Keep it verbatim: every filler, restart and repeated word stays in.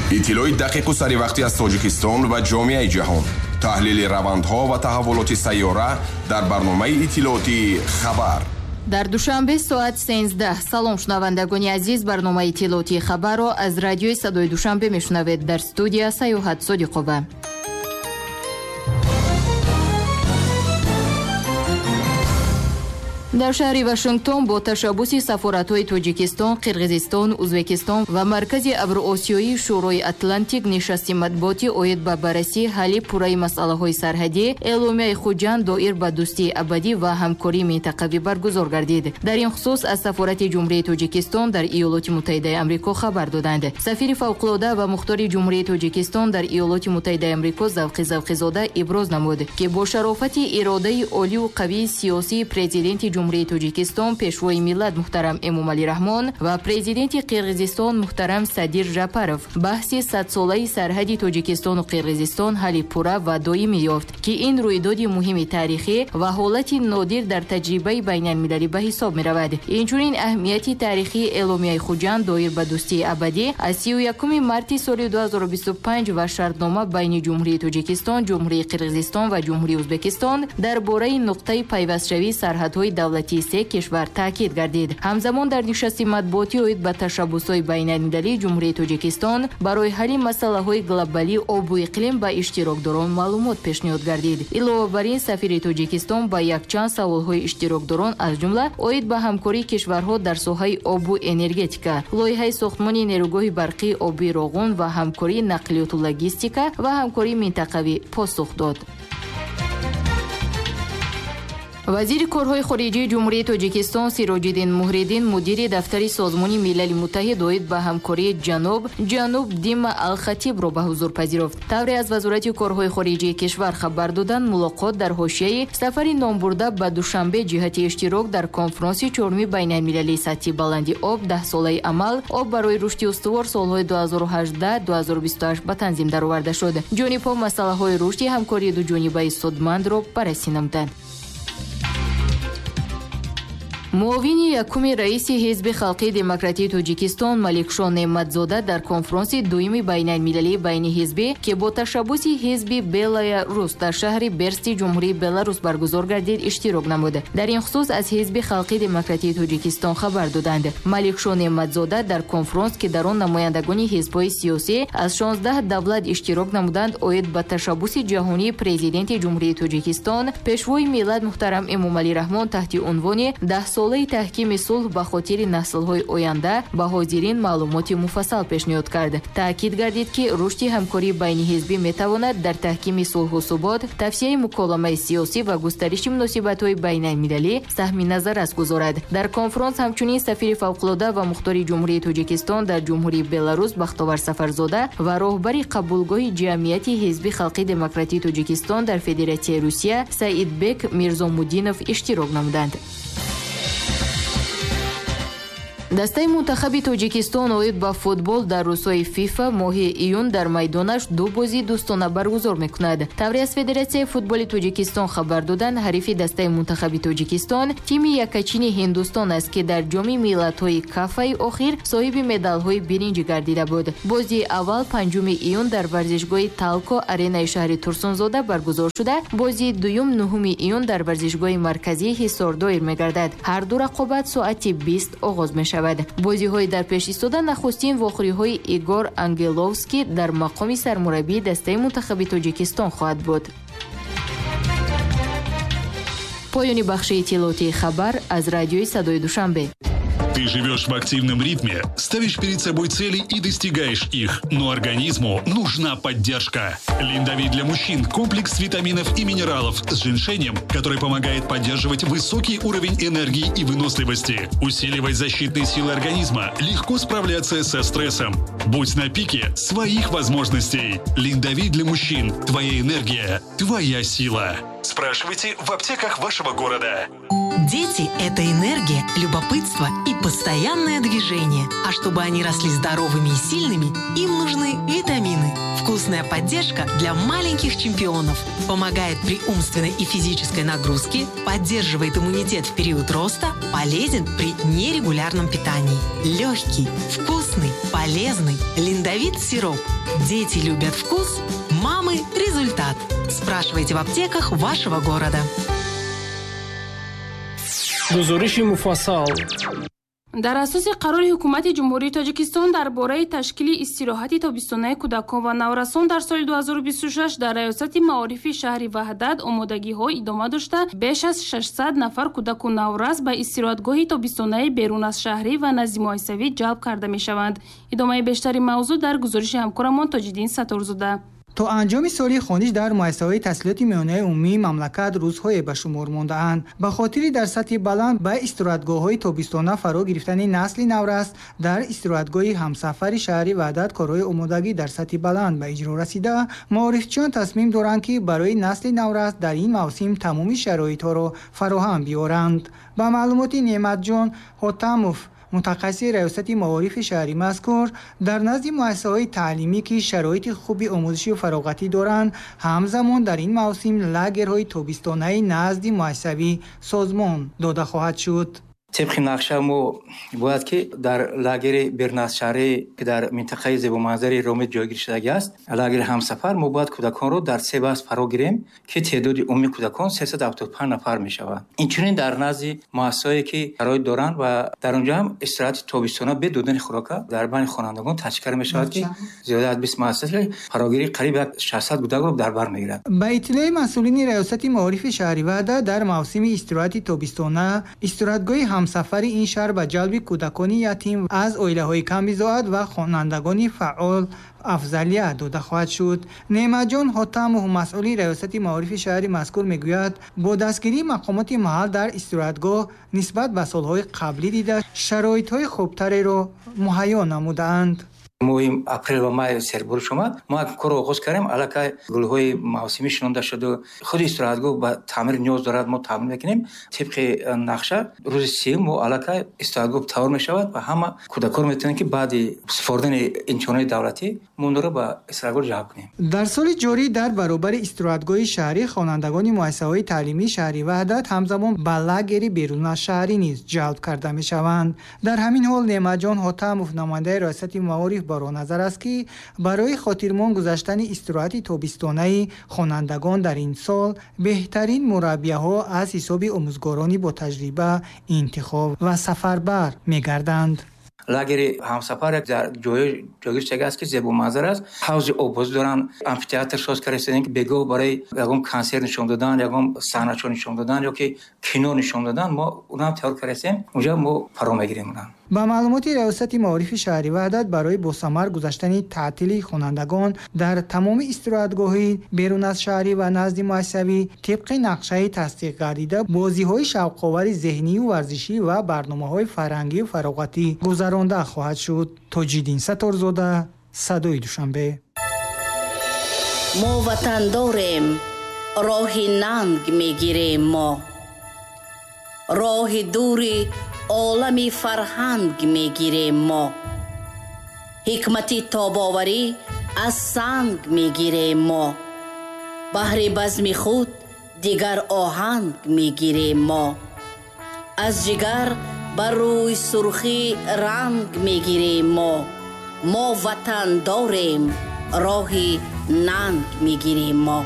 Иттилои дақиқу саривақтӣ аз Тоҷикистон ва ҷомеаи ҷаҳон, таҳлили равандҳо ва таҳаввулоти сайёра дар барномаи иттилоотии «Хабар». Дар Душанбе соат сенздаҳ. Салом, шунавандагони азиз, барномаи иттилоотии «Хабарро» аз радиои Садои Душанбе мешунавед. Дар студия Саёҳат Содиқова. Дар шаҳри Вашингтон бо ташаббуси сафоратҳои Тоҷикистон, Қирғизистон, Ӯзбекистон ва Маркази Авроосиёии Шӯрои Атлантик нишасти матбуотӣ оид ба баррасии ҳалли пурраи масъалаҳои сарҳадӣ, эъломияи Хуҷанд доир ба дӯстии абадӣ ва ҳамкории минтақавӣ баргузор гардид. Дар ин хусус аз сафорати Ҷумҳурии Тоҷикистон дар Иёлоти Муттаҳидаи Амрико хабар доданд. Сафири фавқулода ва мухтори Ҷумҳурии Тоҷикистон дар Иёлоти Муттаҳидаи Амрико Завқи Завқизода иброз намуд, ки бо шарофати иродаи олию қавии сиёсии президенти Ҷумҳурии Тоҷикистон, Пешвои миллат муҳтарам Эмомалӣ Раҳмон ва президенти Қирғизистон муҳтарам Садир Жапаров баҳси садсолаи сарҳади Тоҷикистону Қирғизистон ҳалли пурра ва доимӣ ёфт, ки ин рӯйдоди муҳими таърихӣ ва ҳолати нодир дар таҷрибаи байналмилалӣ ба ҳисоб меравад. Инчунин аҳамияти таърихии эъломияи Хуҷанд доир ба дӯстии абадӣ аз сию якуми марти соли ду ҳазору бисту панҷ ва шартнома байни Ҷумҳурии Тоҷикистон, Ҷумҳурии Қирғизистон ва Ҷумҳурии Ӯзбекистон дар бораи нуқтаи пайвастшавии сарҳадҳои давлатии се кишвар таъкид гардид. Ҳамзамон дар нишасти матбуотӣ оид ба ташаббусҳои байналмилалии Ҷумҳурии Тоҷикистон барои ҳалли масъалаҳои глобалии обу иқлим ба иштирокдорон маълумот пешниҳод гардид. Илова бар ин, сафири Тоҷикистон ба якчанд саволҳои иштирокдорон, аз ҷумла оид ба ҳамкории кишварҳо дар соҳаи обу энергетика, лоиҳаи сохтмони нерӯгоҳи барқии обии Роғун ва ҳамкории нақлиёту логистика ва ҳамкории минтақавӣ посух дод. Вазири корҳои хориҷии Ҷумҳурии Тоҷикистон Сироҷиддин Муҳриддин мудири дафтари Созмони Милали Муттаҳид оид ба ҳамкории ҷануб ҷануб Дима Алхатибро ба ҳузур пазируфт. Тавре аз Вазорати корҳои хориҷии кишвар хабар доданд, мулоқот дар ҳошияи сафари номбурда ба Душанбе ҷиҳати иштирок дар конфронси чорми байналмилалии сатҳи баланди об даҳсолаи амал об барои рушди устувор солҳои ду ҳазору ҳаждаҳ ду ҳазору бисту ҳашт ба танзим дароварда шуд. Ҷонибҳо масъалаҳои рушди ҳамкории дуҷонибаи судмандро баррасӣ намуданд. Муовини якуми раиси Ҳизби Халқии Демократии Тоҷикистон Маликшо Неъматзода дар конфронси дуюми байналмилалии байниҳизбӣ, ки бо ташаббуси ҳизби Белая Рус дар шаҳри Берсти Ҷумҳурии Беларус баргузор гардид, иштирок намуд. Дар ин хусус аз Ҳизби Халқии Демократии Тоҷикистон хабар доданд. Маликшо Неъматзода дар конфронс, ки дар он намояндагони ҳизбҳои сиёсӣ аз шонздаҳ давлат иштирок намуданд, оид ба ташаббуси ҷаҳонии президенти Ҷумҳурии Тоҷикистон, Пешвои миллат муҳтарам Эмомалӣ Раҳмон таҳти унвони даҳсолаи таҳкими сулҳ ба хотири наслҳои оянда ба ҳозирин маълумоти муфассал пешниҳод кард. Таъкид гардид, ки рушди ҳамкории байниҳизбӣ метавонад дар таҳкими сулҳу субот, тавсияи муколамаи сиёсӣ ва густариши муносибатҳои байналмилалӣ саҳми назаррас гузорад. Дар конфронс ҳамчунин сафири фавқулода ва мухтори Ҷумҳурии Тоҷикистон дар Ҷумҳурии Беларус Бахтовар Сафарзода ва роҳбари қабулгоҳи ҷамъияти Ҳизби Халқии Демократии Тоҷикистон дар Федератсияи Русия Саидбек Мирзомуддинов иштирок намуданд. Дастаи мунтахаби Тоҷикистон оид ба футбол дар рӯзҳои ФИФА моҳи июн дар майдонаш ду бозии дӯстона баргузор мекунад. Тавре аз Федератсияи футболи Тоҷикистон хабар доданд, ҳарифи дастаи мунтахаби Тоҷикистон тими якачини Ҳиндустон аст, ки дар ҷоми миллатҳои кафаи охир соҳиби медалҳои биринҷӣ гардида буд. Бозии аввал панҷуми июн дар варзишгоҳи Талко аренаи шаҳри Турсунзода баргузор шуда, бозии дуюм нуҳуми июн дар варзишгоҳи марказии Ҳисор доир мегардад. Ҳар ду рақобат соати бист оғоз мешавад. Бозиҳои дар пеш истода нахустин вохӯриҳои Игор Ангеловский дар мақоми сармураббии дастаи мунтахаби Тоҷикистон хоҳад буд. Поёни бахши иттилоотии «Хабар» аз радиои Садои Душанбе. Ты живешь в активном ритме, ставишь перед собой цели и достигаешь их. Но организму нужна поддержка. Линдовит для мужчин – комплекс витаминов и минералов с женьшенем, который помогает поддерживать высокий уровень энергии и выносливости, усиливать защитные силы организма, легко справляться со стрессом. Будь на пике своих возможностей. Линдовит для мужчин – твоя энергия, твоя сила. Спрашивайте в аптеках вашего города. Дети – это энергия, любопытство и постоянное движение. А чтобы они росли здоровыми и сильными, им нужны витамины. Вкусная поддержка для маленьких чемпионов. Помогает при умственной и физической нагрузке, поддерживает иммунитет в период роста, полезен при нерегулярном питании. Легкий, вкусный, полезный Линдовит сироп. Дети любят вкус, мамы – результат. Спрашивайте в аптеках вашего города. Гузориши муфассал. Дар асоси қарори ҳукумати Ҷумҳурии Тоҷикистон дар бораи ташкили истироҳати тобистонаи кӯдакон ва наврасон дар соли ду ҳазору бисту шаш дар Раёсати маорифи шаҳри Ваҳдат омодагиҳо идома дошта, беш аз шашсад нафар кӯдаку наврас ба истироҳатгоҳи тобистонаи берун аз шаҳрӣ ва назди муассисавӣ ҷалб карда мешаванд. Идомаи бештари мавзӯъ дар гузориши ҳамкорамон Тоҷиддин Сатторзода. То анҷоми соли хониш дар муассисаҳои таҳсилоти миёнаи умумии мамлакат рӯзҳое ба шумор мондаанд. Ба хотири дар сатҳи баланд ба истироҳатгоҳҳои тобистона фаро гирифтани насли наврас дар истироҳатгоҳи ҳамсафари шаҳри Ваҳдат корҳои омодагӣ дар сатҳи баланд ба иҷро расида, маорифчиён тасмим доранд, ки барои насли наврас дар ин мавсим тамоми шароитҳоро фароҳам биёранд. Ба маълумоти Неъматҷон Ҳотамов, мутахассиси Раёсати маорифи шаҳри мазкур, дар назди муассисаҳои таълимӣ, ки шароити хуби омӯзишию фароғатӣ доранд, ҳамзамон дар ин мавсим лагерҳои тобистонаи назди муассисавӣ созмон дода хоҳад шуд. Тибқи нақша мо бояд ки дар лагери беруназшаҳрӣ, ки дар минтақаи зебоманзари Ромит ҷойгир шудагӣ аст, лагери ҳамсафар, мо бояд кӯдаконро дар се баст фаро гирем, ки теъдоди умумии кӯдакон сесаду ҳафтоду панҷ нафар мешавад. Инчунин дар назди муассисаҳое, ки шароит доранд ва дар онҷо ҳам истироҳати тобистона бе додани хӯрока дар байни хонандагон ташкил карда мешавад, ки зиёда аз бист муассиса фарогирии қариб як шашсад кӯдакро дар бар мегирад. Ба иттилои масъулини Раёсати маорифи шаҳри Ваҳдат, дар мавсими истироҳати тобистона истироҳатгоҳи ҳамсафари ин шаҳр ба ҷалби кӯдакони ятим, аз оилаҳои камбизоат ва хонандагони фаъол афзалият дода хоҳад шуд. Неъматҷон Ҳотамов, масъули Раёсати маорифи шаҳри мазкур, мегӯяд, бо дастгирии мақомоти маҳал дар истироҳатгоҳ нисбат ба солҳои қаблӣ дида шароитҳои хубтареро муҳайё намудаанд. Моҳи апрел ва май сербориш омад, мо корро оғоз кардем. Аллакай гулҳои мавсимӣ шинонда шуду худи истироҳатгоҳ ба таъмир ниёз дорад, мо таъмир мекунем. Тибқи нақша рӯзи сиюм мо аллакай истироҳатгоҳ тавор мешавад ва ҳама кӯдакон метавонанд, ки баъди супоридани имтиҳонҳои давлатӣ мо онро ба истироҳатгоҳ ҷалб кунем. Дар соли ҷорӣ дар баробари истироҳатгоҳи шаҳрӣ хонандагони муассисаҳои таълимии шаҳри Ваҳдат ҳамзамон ба лагери берунашаҳрӣ низ ҷалб карда мешаванд. Дар ҳамин ҳол Неъматҷон Ҳотамов, намояндаи Раёсати маориф, бар он назар аст, ки барои хотирмон гузаштани истироҳати тобистонаи хонандагон дар ин сол беҳтарин мураббияҳо аз ҳисоби омӯзгорони ботаҷриба интихоб ва сафарбар мегарданд. Лагери ҳамсафар дар ҷое ҷойгир шудагӣ аст, ки зебоманзар аст. Ҳавзи оббозӣ доранд, амфитеатр соз карда, ки бегоҳ барои ягон консерт нишон додан, ягон саҳначо нишон додан ё ки кино нишон додан мо онам тайёр кардастем. Онҷа мо фаро мегирем онам. Ба маълумоти Раёсати маорифи шаҳри Ваҳдат, барои босамар гузаштани таътили хонандагон дар тамоми истироҳатгоҳи берун аз шаҳрӣ ва назди муассисавӣ тибқи нақшаи тасдиқгардида бозиҳои шавқовари зеҳнию варзишӣ ва барномаҳои фарҳангию фароғатӣ гузаронда хоҳад шуд. Тоҷиддин Сатторзода, Садои Душанбе. Мо ватан дорем, роҳи нанг мегирем, мо роҳи дури олами фарҳанг мегирем, мо ҳикмати тобоварӣ аз санг мегирем, мо баҳри базми худ дигар оҳанг мегирем, мо аз ҷигар ба рӯи сурхӣ ранг мегирем, мо мо ватан дорем, роҳи нанг мегирем мо.